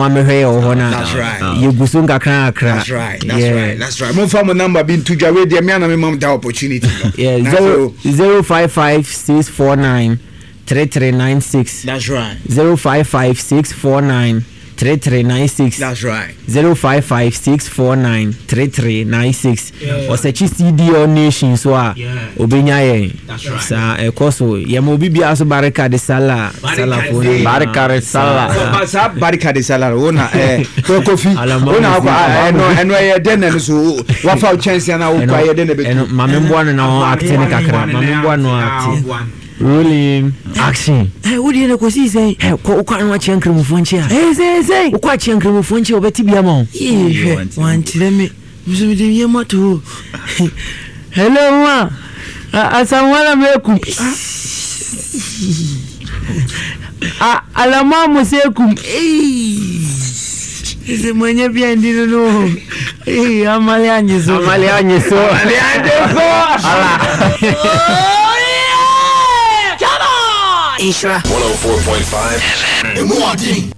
ɔma mɛhwɛ yɛ wɔ hɔ no That's right. a yɛgu so nkakra kakra. That's right. That's right. That's right. Momfa mo number bi nto dwa wei deɛ me ana mema mo that opportunity no. Yeah, Na zero so- 055649 3396. That's right. 055649 3396. That's right. 055649 3396. Ɔsɛkyi CDL Nation so a obenya yɛn. Saa ɛkɔ so yɛma obi biara so barika de sala salafoɔ nyinaa. Barika de sala. Ba- saa barika de salary wo na eh, Kofi Alama wo na akɔ Musi. ah, ɛno ɛno ɛyɛ dɛn na ɛno so wo- wafa wo kyɛnse na wokɔ ayɛ dɛn na Ɛno ɛbɛtu maame mboa no na ɔn acte ne kakra maame mboa no acte. Rolling action. Ɛ wo deɛ na kɔsii sɛn? Ɛ kɔ wokɔ ano akyea nkramofoɔ nkyɛn a. Ɛ sɛn sɛn? Wokɔ akyea nkramofoɔ nkyɛn a wɔbɛte bi ama wo. Yee hwɛ wankyerɛ me nso mede me yam ato hɔ hello ma Asamoah na mekum Alama mo sɛ kum sɛ manya bi andi no no amale anye so Amale anye so. Amale anye so. Ala. Come on! 104.5 Emu ɔden.